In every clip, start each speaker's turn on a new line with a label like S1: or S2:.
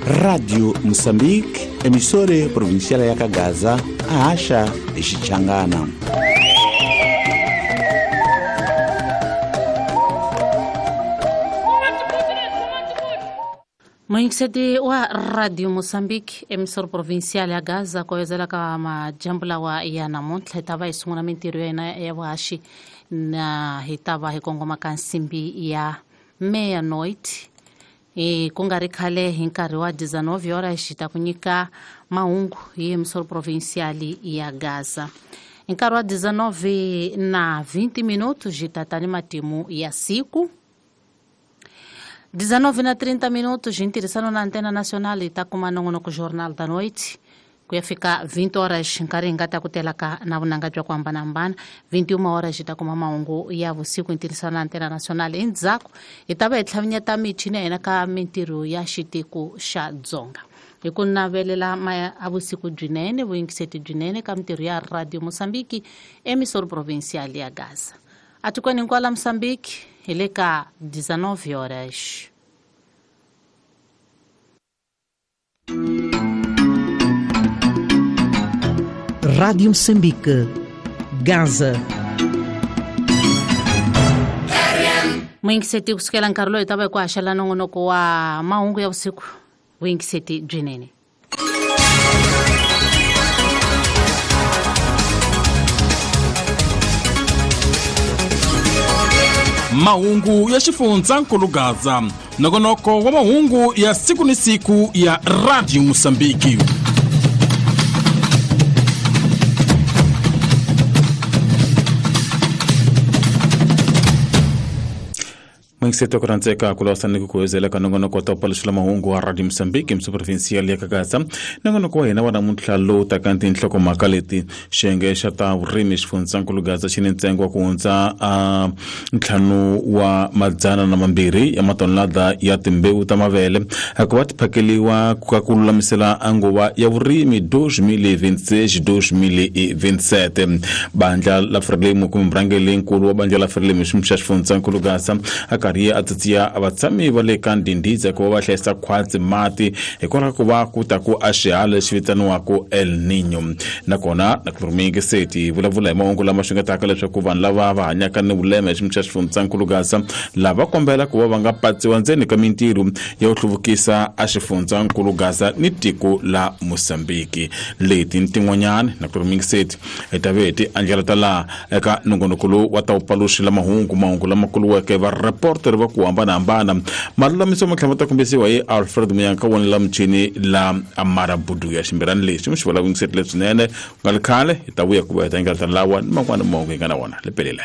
S1: Radio Moçambique, emissora provincial ya Gaza, a haxa hi Xichangana.
S2: Muyingiseti wa Radio Moçambique, emissora provincial ya Gaza, ku wezela ka majambu lawa ya namuntlha hi ta va hi sungula mintirho ya hina ya vuhaxi na hi ta va hi kongoma ka nsimbi ya meia-noite. E ku nga ri khale hi nkarhi wa 19 horas hi ta ku nyika mahungu hi emissora provincial ya Gaza. Hi nkarhi wa 19 na 20 minutos hi ta ta ni matimu ya siku. 19 na 30 minutos hi ntirhisano na Antena Nacional hi ta kuma nongonoko Jornal da Noite ku ya fika 20 horas nkarhi hi nga ta ku tela ka na vunanga bya ku hambanahambana. 21 horas hi ta kuma mahungu ya vusiku hi ntirhisano na Antena Nacional. Endzhaku hi ta va hi tlhavinyeta michini ya hina ka mintirho ya xitiko xa Dzonga. Hi ku navelela a vusiku byinene, vuyingiseti byinene ka mintirho ya Radio Moçambique, emissora provincial ya Gaza. Atikweni hinkwalo la Moçambique hi le ka 19 horas.
S3: Rádio Moçambique, Gaza.
S2: Muyingiseti kusukela nkarhi lowu hi ta va hi ku haxela nongonoko wa mahungu ya vusiku. Vuyingiseti byinene.
S4: Mahungu ya xifundzankulu Gaza, nongonoko wa mahungu ya siku ni siku ya Radio Moçambique. Muyingiseti ku rhandzeka ku lawisa ni ku kuwezela ka nongonoko wa ta paluxela mahungu wa Radio Moçambique emissora provincial ya Gaza. Nongonoko wa hina wa namuntlha lowu taka ni tinhlokomhaka leti: xiyenge xa ta vurimi xifundzankulu Gaza xi ni ntsengo wa ku hundza 5,200 ya matonelada ya timbewu ta mavele ku va ti phakeliwa ka ku lulamisela nguva ya vurimi 2026-2027. Bandla la Frelimo kumbe murhangeri-nkulu wa bandla la Frelimo xiyimo xa xifundzankulu Gaza a karhi a tsatsiya vatshami va le ka Ndhindhiza ku va va hlayisa khwatsi mati hikwalaho ku va ku ta ku a xihala lexi vitaniwaka El Niño. Nakona na ku muyingiseti vulavula hi mahungu lama xungetaka leswaku vanhu lava va hanyaka ni vulema hi xiyimo xa xifundzankulu Gaza lava kombela ku va va nga patsiwa ndzeni ka mintirho ya ku hluvukisa a xifundzankulu Gaza ni tiko la Moçambique. Leti ni tin'wanyana na ku muyingiseti hi ta ve hi ti andlala ta laha eka nongonoko lowu wa ta wu paluxela mahungu, mahungu lama kuluweke va reporter va ku hambanahambana. Malulamiso ma tlhela ma ta kombisiwa hi Alfred Muyanka wona la muchini la Amara Budu ya ximbirani lexi mi xi vula vuyingiseti leswinene. Ku nga ri khale hi ta vuya ku va hi ta engetela lawa ni man'wana mahungu hi nga na wona. Lepelile.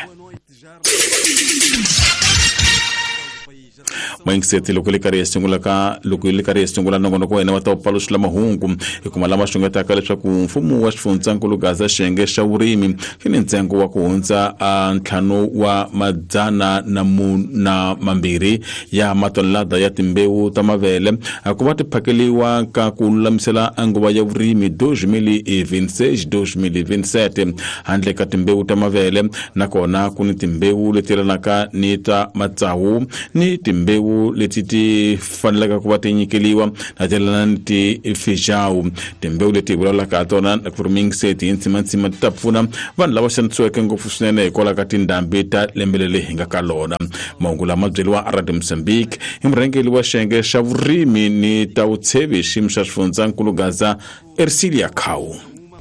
S4: Muyingiseti loko li karhi hi sungula ka loko li karhi hi sungula nongonoko wa hina wa ta paluxela mahungu hi kuma lama xungetaka leswaku mfumo wa xifundzankulu Gaza xiyenge xa vurimi xi ni ntsengo wa ku hundza 5,200 ya matonelada ya timbewu ta mavele ku va ti phakeliwa ka ku lulamisela nguva ya vurimi 2026-2027. Handle ka timbewu ta mavele nakona ku ni timbewu leti yelanaka ni ta matsawu ni timbewu leti ti fanelaka ku va ti nyikeliwa na ti ni ti-feijão. Timbewu leti hi vulavulaka ha tona na ku ri muyingiseti hi ntsimantsima ti ta pfuna vanhu lava xanisiweke ngopfu swinene hikwalaho ka tindhambi ta lembe leri hi nga ka lona. Mahungu lama byeriwa Radio Moçambique hi murhangeri wa xiyenge xa vurimi ni ta vutshevi xiyimo xa xifundzankulu Gaza, Ercilia Khau.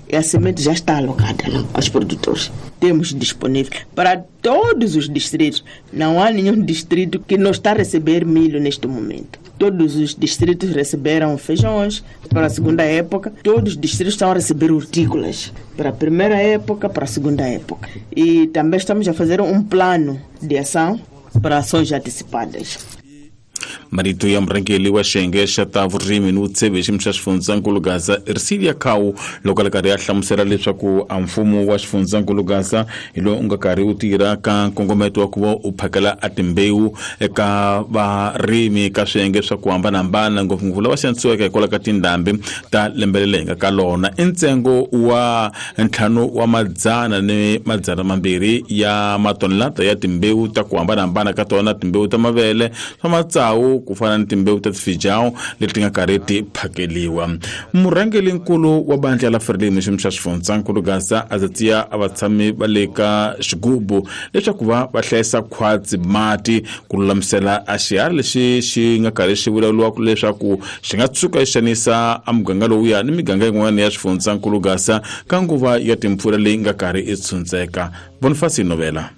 S5: E a semente já está alocada aos produtores. Temos disponível para todos os distritos. Não há nenhum distrito que não está a receber milho neste momento. Todos os distritos receberam feijões para a segunda época. Todos os distritos estão a receber hortícolas para a primeira época, para a segunda época. E também estamos a fazer um plano de ação para ações antecipadas.
S4: Marito ya murhangeri wa xiyenge xa ta vurimi ni vutshevi xiyimo xa xifundzankulu Gaza Ercilia Khau loko a ri karhi a hlamusela leswaku a mfumo wa xifundzankulu Gaza hi lowu u nga karhi wu tirha ka nkongometo wa ku va u phakela a timbewu eka varimi ka swiyenge swa ku hambanahambana, ngopfungopfu lava xanisiweke hikwalaho ka tindhambi ta lembe leri hi nga ka lona. I ntsengo wa 5,200 ya matonelada ya timbewu ta ku hambanahambana ka tona, timbewu ta mavele, swa matsawu ku fana ni timbewu ta tifijawu leti nga karhi ti phakeliwa. Murhangelinkulu wa bandla la Frelimo xiyimo xa xifundzankulu Gaza a tsatsiya a vatshami va le ka xigubu leswaku va hlayisa khwatsi mati ku lulamisela a xiharhi lexi xi nga karhi xi vulavuriwaka leswaku xi nga tshuka xi xanisa a muganga lowuya ni miganga yin'wana ya xifundzankulu Gaza ka nguva ya timpfula leyi nga karhi i tshundzeka. Boniface Novela.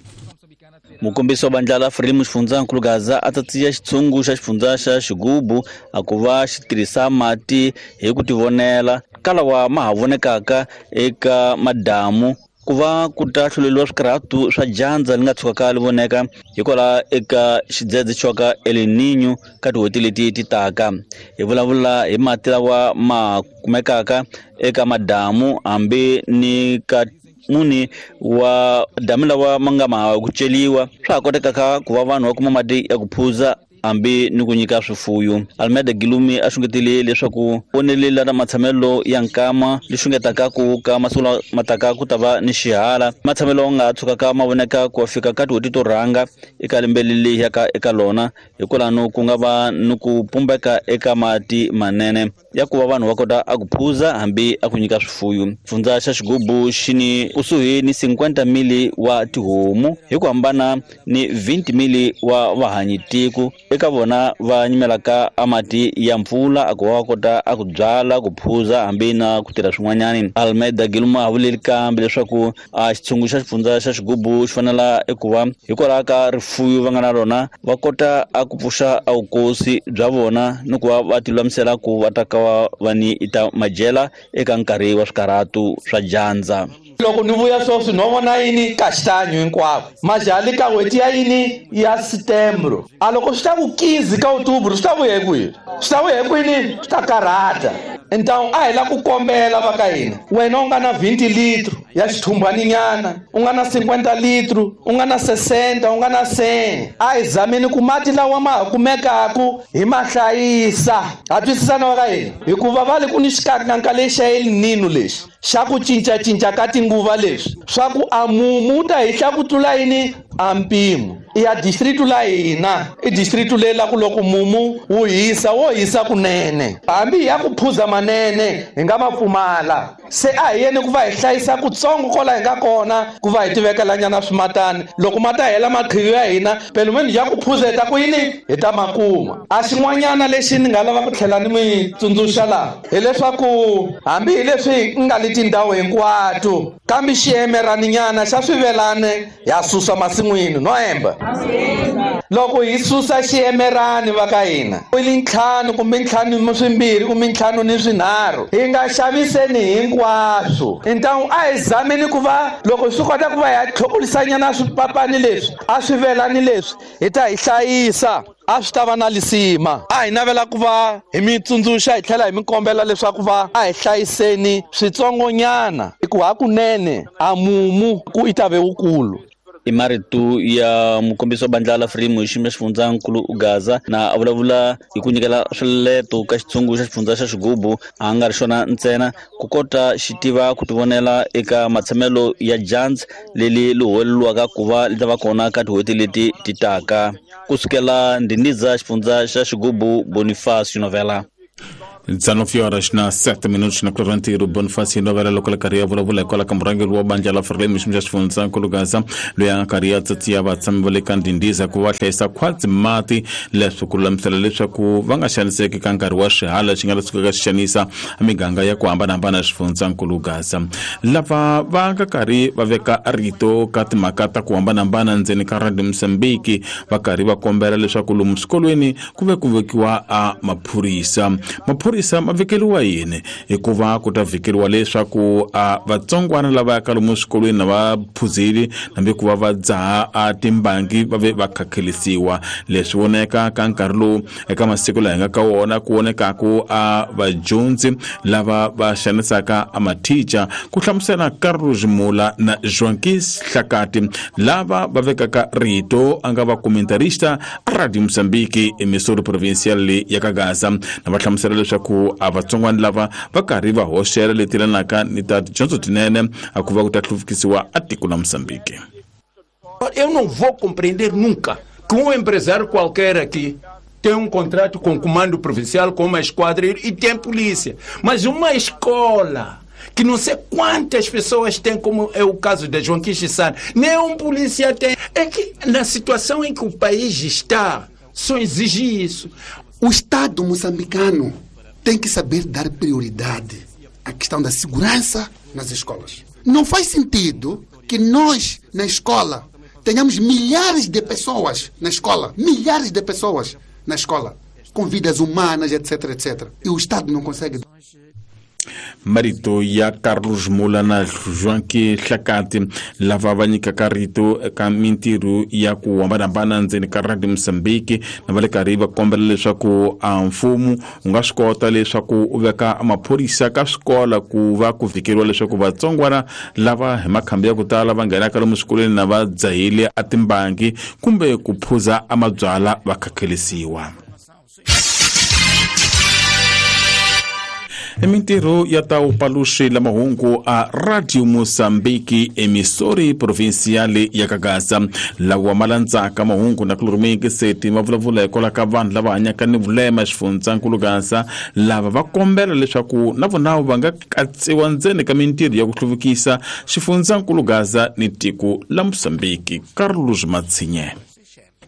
S6: Mukombisi wa bandla la Frelimo xifundzankulu Gaza a tsatsiya xitshungu xa xifundza xa xigubu a ku va xi tirhisa mati hi ku tivonela kalawa ma ha vonekaka eka madamu ku va ku ta hluleliwa swikarhatu swa dyandza li nga tshukaka li voneka hikwalaho eka xidzedze xoka El Niño ka tin'hweti leti ti taka. Hi vulavula hi mati lawa ma kumekaka eka madamu hambi ni ka muni wa damu lawa ma nga ma ku celiwa swa ha kotekaka ku va vanhu va kuma mati ya ku phuza hambi ni ku nyika swifuyo. Almeida Gilumi a xungetile leswaku vonelela na matshamelo ya nkama li xungetaka ku ka masiku lama taka ku ta va ni xihala matshamelo nga tshukaka ma voneka ku fika ka tin'hweti to rhanga eka lembe leri yaka eka lona hikwalano ku nga va ni ku pumbeka eka mati manene ya ku va vanhu va kota a ku phuza hambi a ku nyika swifuyo. Xifundza xa xigubu xi ni kusuhi ni 50,000 wa tihomu hi ku hambana ni 20,000 wa vahanyitiko eka vona va nyimelaka a mati ya mpfula a ku va kota a ku byala ku phuza hambi na ku tirha swin'wanyani. Almeida Giluma a vuleli kambe leswaku a xitshungu xa xifundza xa xigubu xi fanela eku va hikwalaho ka rifuyo va nga na rona va kota a ku pfuxa a vukosi bya vona ni ku va va ti lulamisela ku va ta ka va ni ita majela eka nkarhi wa swikarhatu swa dyandza.
S7: Loko ni vuya sweswi no vona yini kaxanyo hinkwako majali ka n'hweti ya yini ya setembro a loko swi ta ku 15 ka outubro swi ta vuya hi kwihi swi ta vuya hi kwini swi ta karhata. Então a hi la ku kombela va ka hina wena u nga na 20 litro ya xithumbaninyana u nga na 50 litro u nga na 60 u nga na 100 a hi zameni ku mati lawa ma ha kumekaku hi ma hlayisa. Ha twisisana va ka hina hikuva va le ku ni xikankanka lexi xa El Niño lexi xa ku cincacinca ka tinguva leswi swa ku a mumu ta hihla ku tlula yini a mpimo ya district la hina i district leyi la ku loko mumu wu hisa wo hisa kunene hambi ya ku phuza manene hi nga ma pfumala. Se a hi yeni ku va hi hlayisa kutsongo kola hi nga kona ku va hi tivekelanyana swimatani loko ma ta hela maqhiyo ya hina pelumeni ya ku phuza hi ta ku yini hi ta ma kuma. A xin'wanyana lexi ni nga lava ku tlhela ni mi tsundzuxa laha hileswaku hambi hi leswi nga le tindhawu hinkwato kambe xiemeraninyana xa swivelane ya susa masin'wini no hemba. Loko hi susa xiemerani va ka hina i 5 kumbe 5 ni 2 kumbe 5 ni 3 hi nga xaviseni hinkwaswo. Então a hi zameni ku va loko swi kota ku va hi tlhokulisanyana swipapani leswi a swivelani leswi hi ta hi hlayisa a swi ta va na lisima. A hi navela ku va hi mi tsundzuxa hi tlhela hi mi kombela leswaku va a hi hlayiseni switsongonyana hikuva hakunene a mumu ku i ta ve wukulu.
S6: I marito ya mukombisi wa bandla la Frelimo hi xiyimo xa xifundzankulu Gaza na a vulavula hi ku nyikela swileto ka xitshungu xa xifundza xa xigubu a nga ri xona ntsena ku kota xi tiva ku tivonela eka matshamelo ya dyandza leli li huweleliwaka ku va li ta va kona ka tin'hweti leti ti taka. Kusukela Ndindiza xifundza xa xigubu, Boniface Novela.
S4: 19 horas na 7 minutos na Clavantiro Bonifácio Novela loko le karhi ya vulavula hikwalaho ka murhangeri wa bandla la Frelimo xiyimo xa xifundzankulu Gaza loyi a nga karhi ya tsatsiya vatshami va le ka Ndindiza ku va hlayisa khwatsi mati leswi ku lulamisela leswaku va nga xaniseki ka nkarhi wa swihala xi nga sukaka xi xanisa miganga ya ku hambanahambana ya xifundzankulu Gaza. Lava va nga karhi va veka rito ka timhaka ta ku hambanahambana ndzeni ka Radio Mozambique va karhi va kombela leswaku lomu swikolweni ku ve ku vekiwa a maphorisa. Maphorisa ma vekeriwa yini? Hikuva ku ta vhikeriwa leswaku a vatsongwana lava yaka lomu swikolweni na va phuzeli hambi ku va va dzaha a timbangi va ve va khakhelisiwa. Leswi voneka ka nkarhi lowu eka masiku laha hi nga ka wona ku vonekaku a vadyondzi lava va xanisaka a mathicha ku hlamusela Carlos Mula na Joaquis Hlakati lava va vekaka rito a nga va comentarista a Radio Mozambique emisori provincial leyi ya ka Gaza na va hlamusela leswaku a vatsongwana lava va karhi va hoxela leti yelanaka ni ta tidyondzo tinene a ku va ku ta hluvukisiwa a tiko la Moçambique.
S8: Eu não vou compreender nunca que um empresário qualquer aqui Tem um contrato com o comando provincial, com uma esquadra e tem polícia. Mas uma escola que não sei quantas pessoas têm, como é o caso da João Quixissana, nem um polícia tem. É que na situação em que o país está, só exige isso.
S9: O Estado moçambicano tem que saber dar prioridade à questão da segurança nas escolas. Não faz sentido que nós, na escola, tenhamos milhares de pessoas na escola, milhares de pessoas na escola, com vidas humanas, etc, etc. E o Estado não consegue.
S4: Marito ya Carlos Mula na Joaquim Hlakati lava va nyikaka rito eka mintirho ya ku hambanahambana ndzeni ka Radio Mozambique na va le karhi va kombela leswaku a mfumo wu nga swi kota leswaku u veka maphorisa ka swikola ku va ku vhikeriwa leswaku vatsongwana lava hi makhambi ya ku tala va nghenaka lomu swikolweni na va dzahile a timbangi kumbe ku phuza a mabyala va khakhelisiwa. Mintirho ya ta upaluxi la mahungu a Radio Mozambique emissori provinciale ya Kagaza lawa ma landzaka mahungu na ku seti ma vulavula hikwalaho ka vanhu lava hanyaka ni vulema xifundzankulu Gaza lava va kombela leswaku na vona va nga katsiwa ndzeni ka mintirho ya ku hluvukisa xifundzankulu Gaza ni tiko la Mozambique. Carlos Matsinye.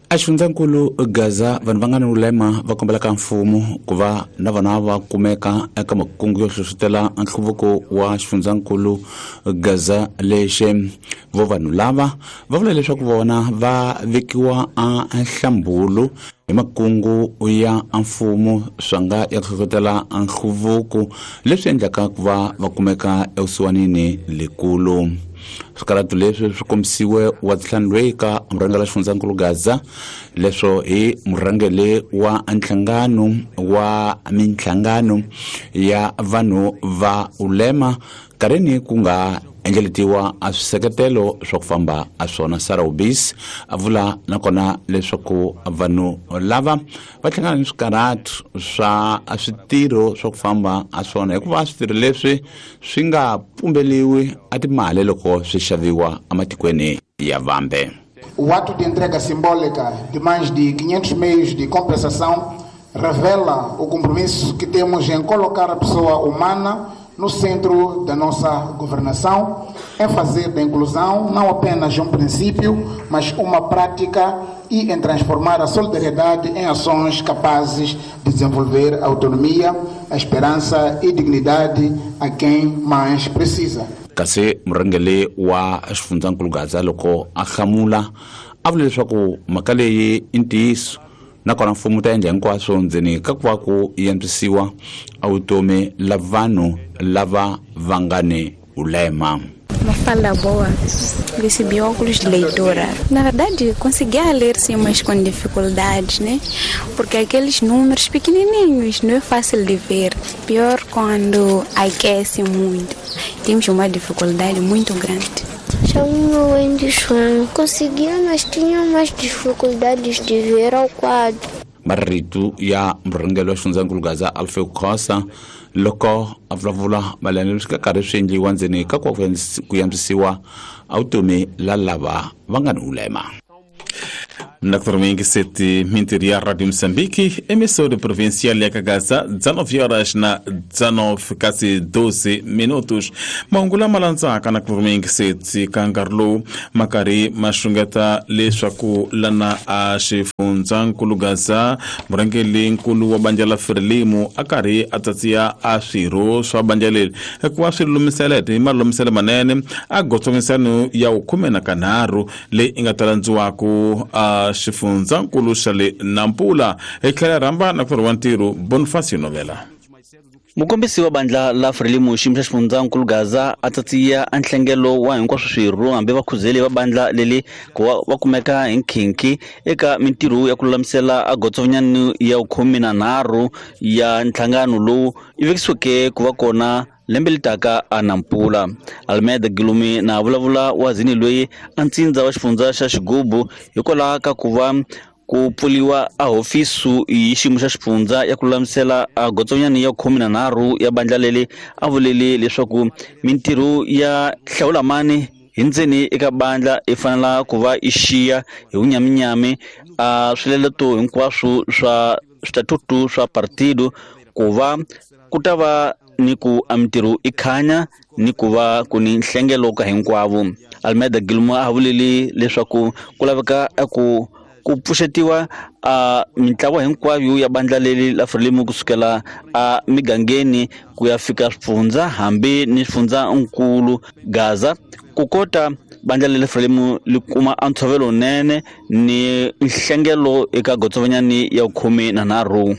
S1: Axifundzankulu Gaza vanhu va nga ni vulema va kombela ka mfumo ku va na vona va kumeka eka makungu yo hlohlotela nhluvuko wa xifundzankulu Gaza lexe. Vo vanhu lava va vula leswaku vona va vekiwa a nhlambulu hi makungu ya mfumo swa nga ya hlohlotela nhluvuko leswi endlaka ku va va kumeka evusiwanini lekulu. Swikaratu leswi swi kombisiwe wa ntlhanu loyi ka murhangeri wa xifundzankulu Gaza leswo hi murhangeri wa nhlangano wa minhlangano ya vanhu va ulema kareni ku nga endleletiwa a swiseketelo swa ku famba a swona. Sarah Ubis a vula nakona leswaku vanhu lava va hlangana ni swikaratu swa switirho swa ku famba a swona hikuva switirho leswi swi nga pumbeliwi a timali loko swi xaviwa ematikweni ya vambe.
S10: O ato de entrega simbólica de mais de 500 meios de compensação revela o compromisso que temos em colocar a pessoa humana no centro da nossa governação, em fazer da inclusão não apenas um princípio, mas uma prática e em transformar a solidariedade em ações capazes de desenvolver a autonomia, a esperança e dignidade a quem mais precisa.
S1: Kasi murhangeri wa xifundzankulu Gaza loko a hlamula a vula leswaku mhaka leyi i ntiyiso nakona mfumo ta endla hinkwaswo ndzeni ka ku va ku antswisiwa a vutomi la vanhu lava va nga ni ulema.
S11: Uma fala boa, recebi óculos de leitura. Na verdade, conseguia ler sim, mas com dificuldades, né? Porque aqueles números pequenininhos não é fácil de ver. Pior quando aquece muito. Temos uma dificuldade muito grande.
S12: Chamo-me Wendy Chuan. Conseguia, mas tinha mais dificuldades de ver ao quadro.
S1: Marito ya murhangeri wa xifundzankulu Gaza Alfeo Khosa loko a vulavula mayelana leswi ka karhi swi endliwa ndzeni ka ku antswisiwa a vutomi la lava va nga ni ulema.
S4: Naturalmente, sete mintirho ya Radio Moçambique, emissora provincial ya Kagaza, 19 horas na 19 quase 12 minutos. Mahungu lama landzaka naturalmente sete ka nkarhi lowu ma karhi ma xungeta leswaku lana a xifundzankulu Gaza murhangeri-nkulu wa bandla la Frelimo a karhi a tsatsiya a swirho swa bandla leri hikuva swi lulamisela hi malulamiselo manene a gotsongisano ya 13 leyi i nga ta landziwaku a xifundzankulu xa le Nampula. Hi tlhela rhamba na ku wa ntirho Bonifacio Novela.
S6: Mukombisi wa bandla la Frelimo xiyimo xa xifundzankulu Gaza a tsatsiya a nhlengelo wa hinkwaswo swirho hambi vakhuzeli va bandla leli ku va kumeka hi nkhinkhi eka mintirho ya ku lulamisela a gotsonyani ya 13 ya nhlangano lowu yi vekisiweke ku va kona lembe litaka a Nampula. Almeida Gilumi na vulavula wa zini loyi a ntsindza wa xifundza xa Xigubu hikwalaho ka ku va ku pfuriwa a hofisu hi xiyimo xa xifundza ya ku lulamisela a gotsonyani ya 13 ya bandla leri a vulele leswaku mintirho ya hlawulamani hi ndzeni eka bandla i fanela ku va i xiya hi vunyaminyami a swileleto hinkwaswo swa switatutu swa partido ku va ku ta va ni ku a mintirho i khanya ni ku va ku ni nhlengelo ka hinkwavo. Almeida Gilmore a vulile leswaku ku laveka ku pfuxetiwa a mintlawa hinkwayo ya bandla leri la Frelimo kusukela a migangeni ku ya fika swifundza hambi ni swifundza nkulu Gaza ku kota bandla leri Frelimo li kuma a ntshovelo nene ni nhlengelo eka gotsovanyani ya 13.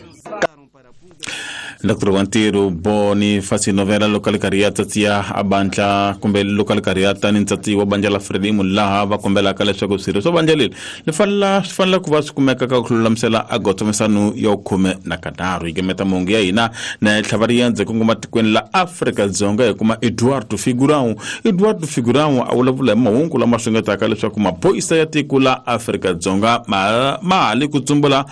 S4: Dr. Wantiro Bonifacio Novela local kariata tia abantla kumbe local kariata ni ntsatsi wa bandla la Frelimo laha va kombelaka leswaku swirho swa bandla leri li fanela ku va swi kumeka ka ku lulamisela a gotsomesano ya 13. Yi gemeta mahungu ya hina na tlhavariendzo kongoma tikweni la Afrika-Dzonga hi kuma Eduardo Figurão. Eduardo Figurão a vulavula hi mahungu lama xungetaka leswaku maphorisa ya tiko la Afrika-Dzonga ma ha le ku tsumbula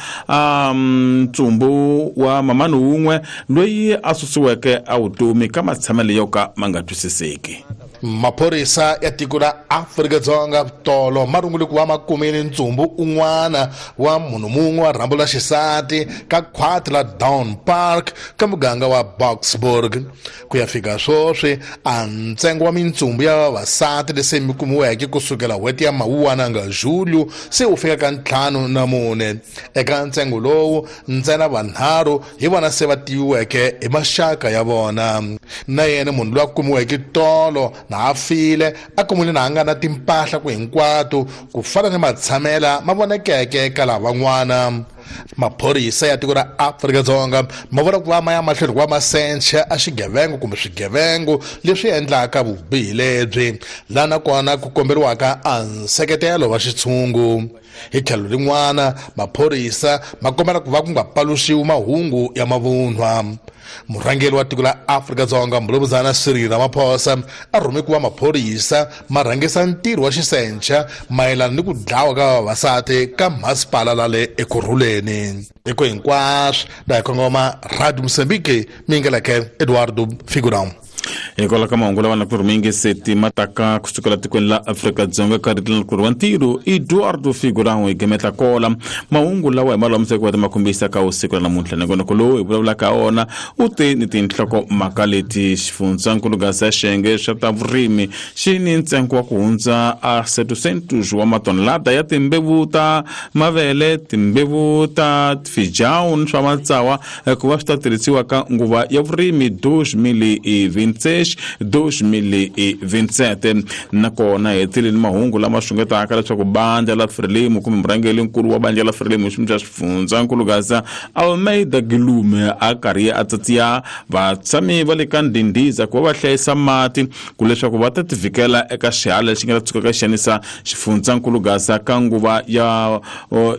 S4: ntsumbu wa mamani wun'we loyi a susiweke a vutomi ka matshamelo yo ka ma nga twisiseki.
S13: Maphorisa ya tiko la Afrika-Dzonga tolo ma rungule ku va ma kumile ntsumbu un'wana wa munhu mun'we wa rhambu la xisati ka khwati la Down Park ka muganga wa Boksburg. Ku ya fika sweswi a ntsengo wa mintsumbu ya vavasati lese mi kumiweke kusukela n'hweti ya Mawuwana nga Julio se wu fika ka 54. Eka ntsengo lowu ntsena vanharhu hi vona se va tiviweke hi maxaka ya vona. Na yena munhu loyi a kumiweke tolo na a file a kumile na a nga na timpahla ku hinkwato ku fana ni matshamela ma vonekeke ka lavan'wana. Maphorisa ya tiko ra Afrika-Dzonga ma vona ku va ma ya mahlweni ku va ma sencha a xigevengo kumbe swigevengo leswi endlaka vubihi lebyi, laha nakona ku komberiwaka a nseketelo wa xitshungu. Hi tlhelo rin'wana maphorisa ma kombela ku va ku nga paluxiwi mahungu ya mavunwa. Murhangeri wa tiko la Afrika-Dzonga Mbulumuzana Cyril Ramaphosa a rhume ku va maphorisa ma rhangisa ntirho wa xisencha mayelana ni ku dlawa ka vavasati ka masipala la le Ekurhuleni. Eko hinkwaswo la hi kongoma Radio Mozambique mingeleke Eduardo Figurão.
S4: Hikwalaho ka mahungu lawa na ku rhumingi seti mataka kusukela tikweni la Afrika-Dzonga ka ritilo wa ntirho Eduardo Figurão hi gemeta kola mahungu lawa hi malulamiseke wa ta kombisa ka usiku la namuntlha. Nongonoko lowu hi vulavulaka wona u te ni tinhlokomhaka leti: xifundzankulu Gaza xiyenge xa ta vurimi xi ni ntsengo wa ku hundza a 700 wa matonelada ya timbewu ta mavele, timbewu ta fijawu swa matsawa ku va swi ta tirhisiwa ka nguva ya vurimi 2026 2027. Nakona hi tlhele mahungu lama xungetaka leswaku bandla la Frelimo kumbe murhangeri-nkulu wa bandla la Frelimo xi xa xifundzankulu Gaza Almeida Gilumbe a karhi a tsatsiya vatshami va le ka Ndhindiza ku va va hlayisa mati ku leswaku va ta tivikela eka xihala lexi nga ta tshuka ka xanisa xifundzankulu Gaza ka nguva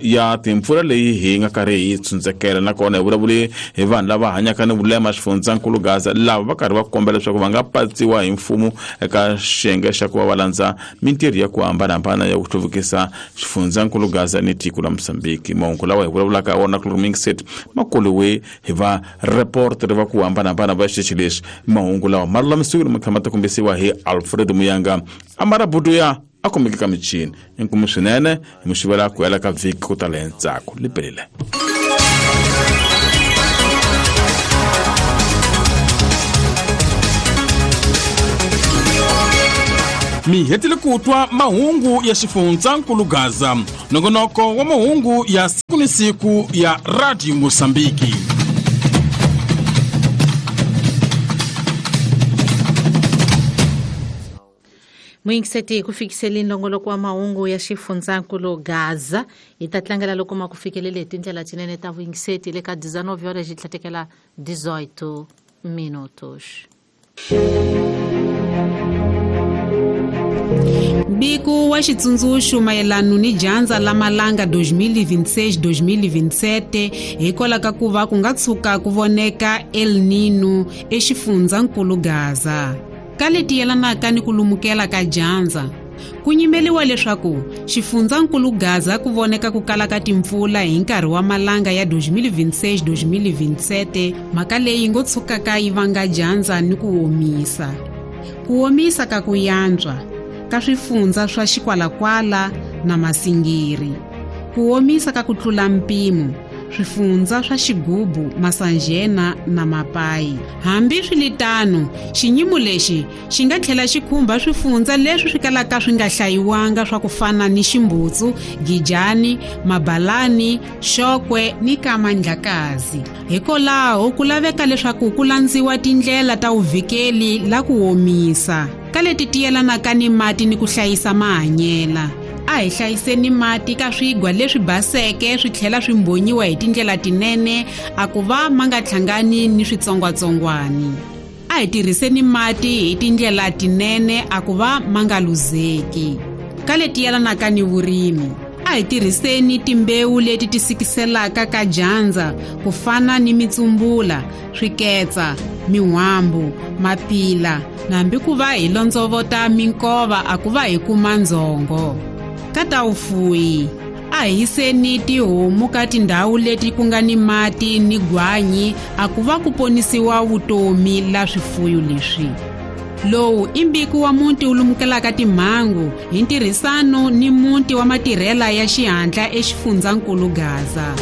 S4: ya timpfula leyi hi nga karhi hi tshundzekela. Nakona hi vulavule hi vanhu lava hanyaka ni vulema xifundzankulu Gaza lava va karhi va kombela leswaku va nga patsiwa hi mfumo eka xiyenge xa ku va va landza mintirho ya ku hambanahambana ya ku hluvukisa xifundzankulu Gaza ni tiko la Mozambique. Mahungu lawa hi vulavulaka wona ku Mixet ma koliwe hi va reporter va ku hambanahambana va xitichi lexi. Mahungu lawa ma lulamisiwile ma tlhela ma ta kombisiwa hi Alfred Muyanga Amarabudu ya a kumeke ka michini. Inkomu swinene hi muxivela ku hela ka vhiki ku tala hi ntsako lipelile.
S14: Mi hetile ku twa mahungu ya xifundzankulu Gaza, nongonoko wa mahungu ya siku ni siku ya Radio Mozambique.
S2: Muyingiseti ku fikiseli nongoloko wa mahungu ya xifundzankulu Gaza hi ta tlangela loko ma ku fikelele hi tindlela tinene ta vuyingiseti le ka 19 horas hi tlhatekela 18 minutos.
S15: Mbiko wa xitsundzuxo mayelana ni dyandza la malanga 2026-2027 hikwalaho ka ku va ku nga tshuka ku voneka El Nino exifundzankulu Gaza. Ka leti yelanaka ni ku lumukela ka dyandza, ku nyimeliwa leswaku xifundzankulu Gaza ku voneka ku kala ka timpfula hi nkarhi wa malanga ya 2026-2027, mhaka leyi ngo tshukaka yi vanga dyandza ni ku omisa. Ku omisa ka ku yantswa ka swifundza swa Xikwalakwala na Masingiri, ku omisa ka ku tlula mpimo Swifundza swa Xigubu, Masanjena na Mapai. Hambi swiritano, xiyimo lexi xi nga tlhela xi khumba swifundza leswi swi kalaka swi nga hlayiwanga swa ku fana ni Ximbutsu, Gijani, Mabalani, Xokwe ni Kamandlakazi. Hikwalaho ku laveka leswaku ku landziwa tindlela ta vuvikeli la ku omisa ka leti tiyelanaka ni mati ni ku hlayisa mahanyela. A hi hlayiseni mati ka swigwa leswi baseke swi tlhela swi mbhonyiwa hi tindlela tinene a ku va ma nga hlangani ni switsongwatsongwani. A hi tirhiseni mati hi tindlela tinene a ku va ma nga luzeki. Ka leti yelanaka ni vurimi, a hi tirhiseni timbewu leti ti sikiselaka ka dyandza ku fana ni mitsumbula, swiketsa, min'wambu, mapila, nambi ku va hi londzovota minkova a ku va hi kuma ndzhongo. Ka ta vufuwi, a hi yiseni tihomu ka tindhawu leti ku nga ni mati ni gwanyi a ku va ku ponisiwa vutomi la swifuyo leswi. Lowu i mbiko wa muti wu lumukelaka timhangu hi ntirhisano ni muti wa matirhela ya xihatla eXifundzankulu Gaza.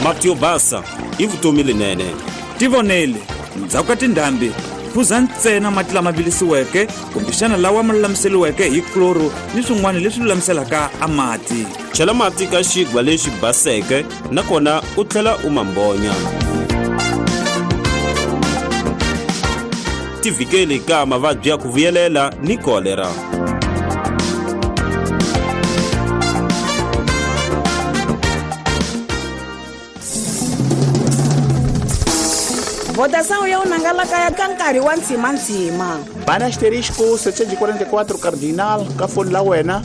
S16: Mati yo basa i vutomi lenene.
S17: Tivonele, ndzhaku ka tindhambi phuza ntsena mati lama vilisiweke kumbexana lawa ma lulamiseriweke hi kloro ni swin'wana leswi lulamiselaka a mati.
S16: Chela mati ka xigwa lexi baseke nakona u tlhela u ma mbonya. Tivikeli ka mavabyi ya ku vuyelela ni kolera.
S18: Votação ya unangalaka ka nkarhi wa ntshimantsima.
S1: Bana asterisco 744 cardinal ka foni la wena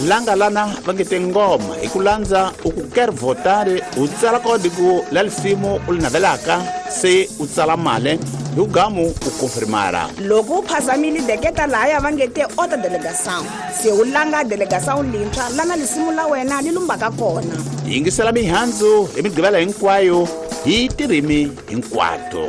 S1: langa lana va nge tingoma hi ku landza u ku quer votar u tsala kodiku la lisimu u li navelaka se u tsala mali hi ugamu u konfirmara.
S18: Loko u phazamile deketa lahaya va nge te ota delegação se u langa delegação lintshwa lana lisimu la wena li lumbaka kona.
S1: Yingisela mihandzu hi migqivela hinkwayo hi tirimi hinkwato.